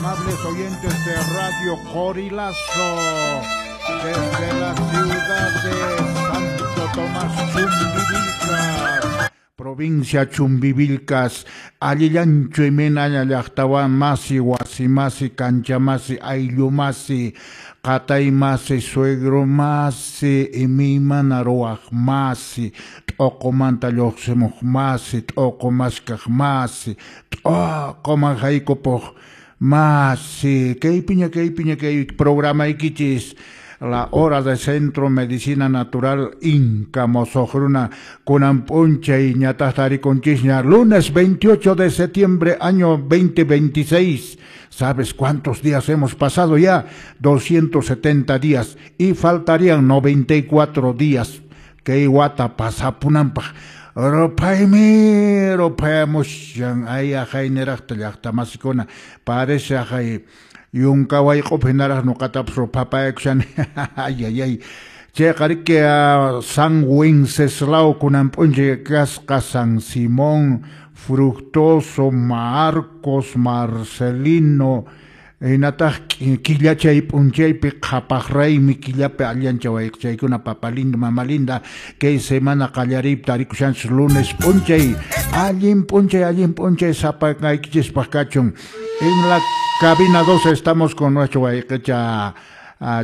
Amables oyentes de Radio Qorilazo, desde la ciudad de Santo Tomás Chumbivilcas, provincia Chumbivilcas, allillanchu imaynaña llaqtawan masi, wasi masi, kancha masi, ayllu masi, qatay masi, suegro masi, imaymana ruwaq masi, t'uqumanta lluqsimuq masi, t'uqu maskaq masi, t'uquman haykupuq masi. Kaypiña, kaypiña kay programaykichis, La Hora de Centro Medicina Natural Inca Mosoq Runa, kunan p'unchay ñataq tarikunchisña, lunes 28 de septiembre, año 2026. ¿Sabes cuántos días hemos pasado ya? 270 días y faltarían 94 días kay wata pasapunanpaq. Ruphaymi ruphayamushan, ay aqhayniraqta llaqta masikuna, parece aqhay yunka wayq'upi hinaraq nuqatapas ruphapayakushani. Ay ay ay, chayqa riki San Wenceslao kunan p'unchay kasqa, San Simón, Fructuoso, Marcos, Marcelino, hinataq killachay p'unchaypi qhapaq raymi killapi allancha wayqchaykuna, papa lindo, mama linda, kay semana qallariypi tarikushanchis lunes p'unchay, allin p'unchay sapakaykichispaq kachun. En la cabina 2 estamos con nuestro wayqicha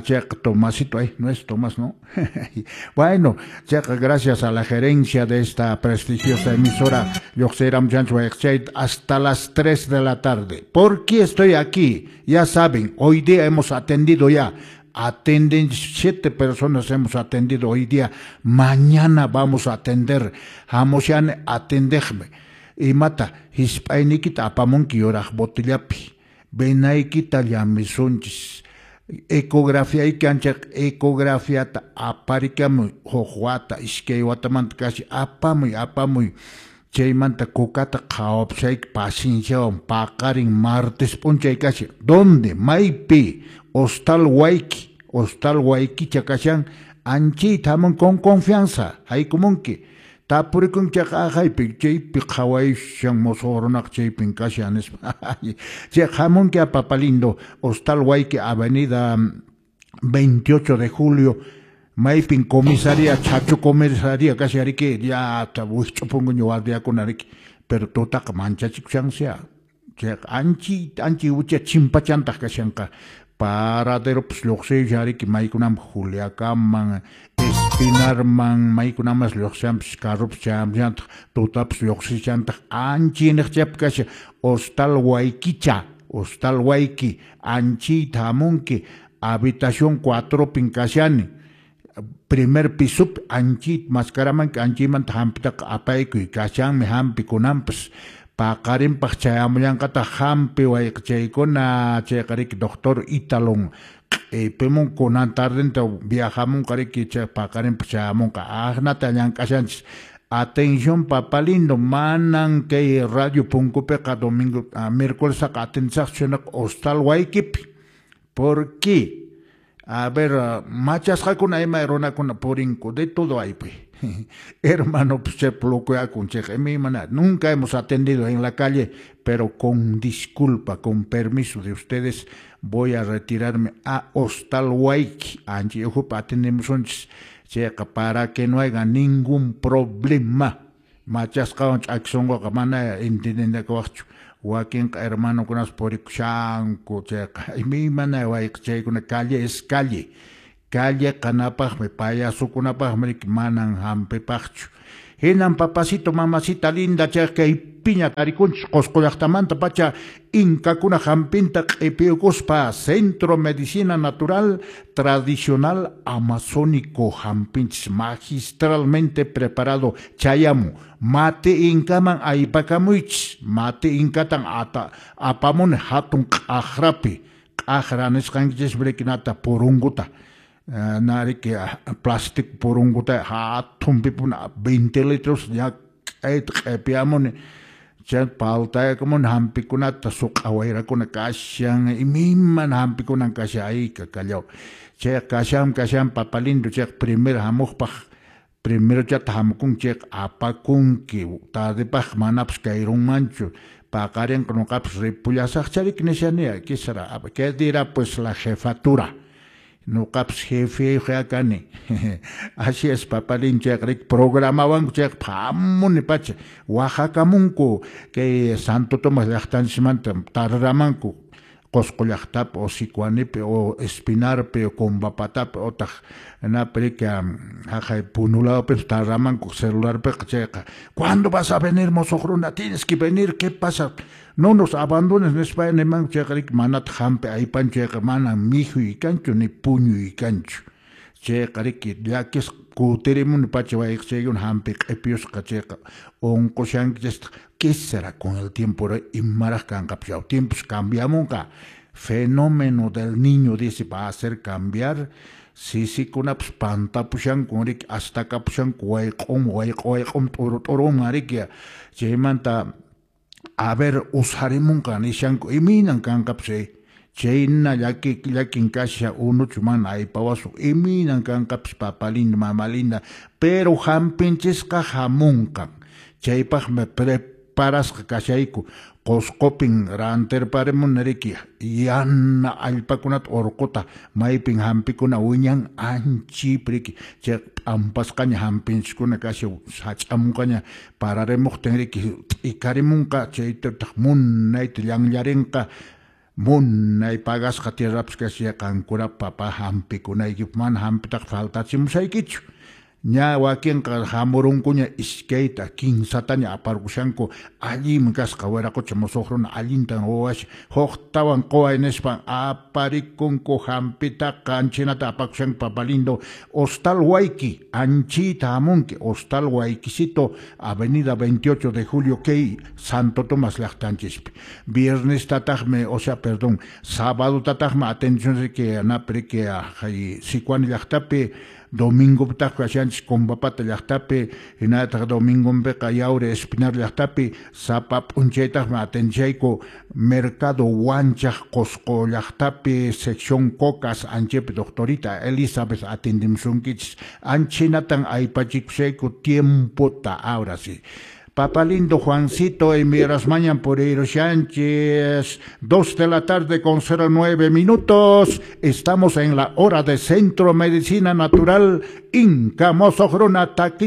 chayqa Tomasito, ay, no es Tomás, ¿no? Bueno, chayqa gracias a la gerencia de esta prestigiosa emisora, lluqsiramchanchis wayqichay hasta las 3 de la tarde. ¿Por qué estoy aquí? Ya saben, hoy día hemos atendido ya, atenden 7 personas hemos atendido hoy día, mañana vamos a atender, hamushan atendejme, imata hisp'ayniykita apamunki yuraq botellapi, venaykita llamisunchis, ecografía anchaq ecografiata aparikamuy, huk wata, iskay watamanta kasi apamuy, apamuy, chaymanta kukata qhawapusayki pacienciawan paqarin martes p'unchay kasi, ¿dónde? Maypi? Hostal Wayki, Hostal Waykicha kashan, anchayta hamun con confianza, haykumunki, tapurikunki chayqa aqhaypi, chaypi qhawayushan mosoq runaqa chaypin kashan nispa. Chay hamunki a Papa Lindo, Hostal Wayki, Avenida 28 de Julio, maypin comisaría, Chacho comisaría, casi ariki, ya wikch'upunkuña guardiakuna riki, pero tutaqa manchachikushansia, chay anchi, anchi wicha chimpachantaq kashanqa, paraderopas lluqsiyushan riki, maykunaman Juliacaman, Espinarman, maykunamas lluqsishanpas, carropas chayamushantaq, tutapas lluqsishantaq, anchi niqchapi kashan, Hostal Waykicha, Hostal Wayki, anchiyta hamunki, habitación 4pin kashani, primer pisopi, anchiyta maskaramanki, anchiymanta hampitaqa apaykuy, kashanmi hampi kunanpas, paqarinpaq chayamullanqataq hampi wayqichaykuna, chayqa riki doctor Italon q'ipimun kunan tardenta viajamunqa riki, chay paqarinpaq chayamunqa, aqnata llank'ashanchis. Atención papa lindo, manan kay radio punkupiqa domingo, miércoles atendisaqchu sinaqa Hostal Waykipi. ¿Por qué? A ver, machasqakuna ima runakuna purinku, de todo hay pues. Hermano, pues che locoyakun, che, imaymana, nunca hemos atendido en la calle, pero con disculpa, con permiso de ustedes, voy a retirarme a Hostal Wayki. Anchi ujupa atendemos unchis, chayqa para que no haya ningún problema. Machasqawan ch'akisonqoqa mana entendinakuwaqchu. Wakinqa hermanokunas purikushanku, chayqa imaymana wayqichaykuna, calle es calle. Calle qanapaqmi, payasukunapaqmi riki manan hampipaqchu. Hinan papacito, mamacita linda, chay kay piña tarikunchis Qosqo llaqtamanta pacha inkakuna hampinta q'ipiyukuspa Centro Medicina Natural Tradicional Amazónico hampinchis magistralmente preparado chayamu. Mate inkaman aypakamuychis, mate inkatan ata apamuni hatun q'aqrapi, q'aqra nisqankichis brikinata purunguta. Nariki plástico purunguta hatunpipuna 20 litros ya k'ayta q'ipiyamuni, chay paltayakamuni hampikunata suq'a wayrakuna kashan, imaymana hampikunan kashan, ay kakallaw. Chay kashan, kashan papa lindo, chay primer hamuqpaq, primero chata hamukunki, chay apakunki, tardepaq manapas kayrunmanchu, Paqarinqa nuqapas ripullasaqcharik nishani, ¿qué será? ¿Qué dirá pues la jefatura? Nuqapas jefeyuq kani. Así es, papalín, chayqa programawanku chayqa phamuni pacha waqhakamunku kay Santo Tomás llaqtanchismanta tarramanku Qosqo llaqtapi o Sicuanipi o Espinarpi o Combapatapi otaq naprika haqay Punulawpi tarramanku celularpiqa chayqa. ¿Cuándo vas a venir, mosoq runa? Tienes que venir, ¿qué pasa? No nos abandones nispa nimanku chayqa manataq hampi aypanchu chayqa mana mikhuy kanchu ni puñuy kanchu. Chayqa riki llakisqa kutirimuni pacha wayqchaykuna hampi q'ipiyusqa chayqa unqushankichistaq. ¿Qué será con el tiempo? Imaraq kanqapas tiempos cambiamunqa. Fenómeno del niño, dice, va a hacer cambiar. Sisikunapas pantapushanku riki astakapushanku wayq'um wayq'u wayq'um t'uru t'uruman riki chaymanta a ver usarimunqa nishanku imaynan kanqapas chayna llakin kasha unuchu mana aypawasun imaynan kanqapas papa linda mama linda pero hampinchisqa hamunqan chaypaqmi preparasqa kashayku Qosqopin rantirparimuni riki yana allpakunata urquta maypin hampikuna wiñan anchip riki chay p'ampasqaña hampinchiskuna kasha sach'amunqaña pararimuqtin riki t'ikarimunqa chaytataq munayta llanllarinqa munay pagasqa tierrapas kasha qankuna papa hampikunaykipaq mana hampitaqa faltachimusaykichu. Ña wakinqa hamurunkuña iskayta kinsataña aparqushanku allinmi kasqa wiraqucha musuq runa allintan ruwasha huktawan quway nispan aparikunku hampitaqa anchinata apakushanku papa lindo Hostal Huayqui anchita hamunki Hostal Huayquisito Avenida 28 de Julio kay Santo Tomás llaqtanchispi viernestataqmi o sea perdón sábadotataqmi atención riki napi riki Sicuani llaqtapi domingopitaq kashanchis Combapata llaqtapi hinallataq domingonpiqa Yauri Espinar llaqtapi sapa p'unchaytaqmi atenchayku Mercado Huanchaq Qosqo llaqtapi sección Cocas anchipi doctorita Elizabeth atendimusunkichis anchinatan aypachikushayku tiempota ahora sí. Papá lindo Juancito y Mirasmañan por Sánchez, 2 de la tarde con 09 minutos. Estamos en la hora de Centro Medicina Natural, Inca Mosojruna Taqui.